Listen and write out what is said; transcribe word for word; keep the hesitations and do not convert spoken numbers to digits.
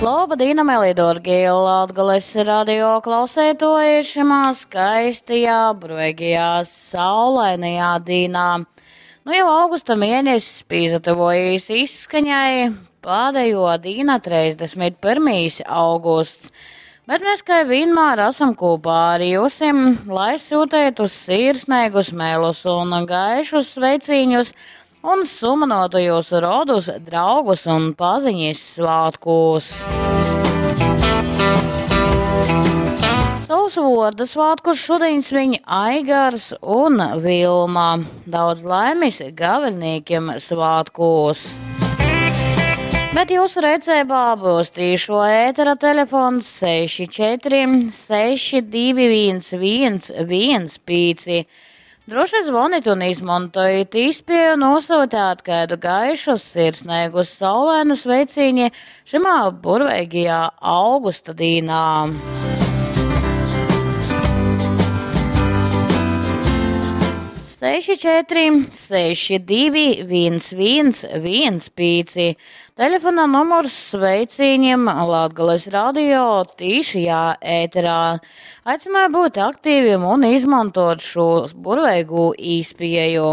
Laba dīna, mieli dārgie Latgales radio klausētoji šimā skaistajā, burveigajā, saulainajā dīnā. Nu jau augusta mēnesis pīsatuvojīs izskaņai, pēdējo dīna trīsdesmit pirmīs augusts. Bet mēs, kā vienmēr, esam kopā ar jūsim, lai sūtētu sirsnīgus mēlus un gaišus sveicīņus un sumanotu jūsu rodus, draugus un paziņas svētkos. Savus vārda svētkus šodien sviņ Aigars un Vilma. Daudz laimes gaveļniekiem svētkos. Bet jūsu rīcībā būs tīšo ētera telefons seši četri seši divi viens viens viens pīci. Droši zvonit un izmantojit īspēju nosūtīt kādu gaišu, sirsnīgu, saulainu sveicīņi šimā burveigajā augusta dīnā. Seši četri seši divi viens viens viens pīci. Telefona numurs sveicīņiem Latgales radio tīšajā ēterā. Aicināju būt aktīviem un izmantot šo burveigu īspēju.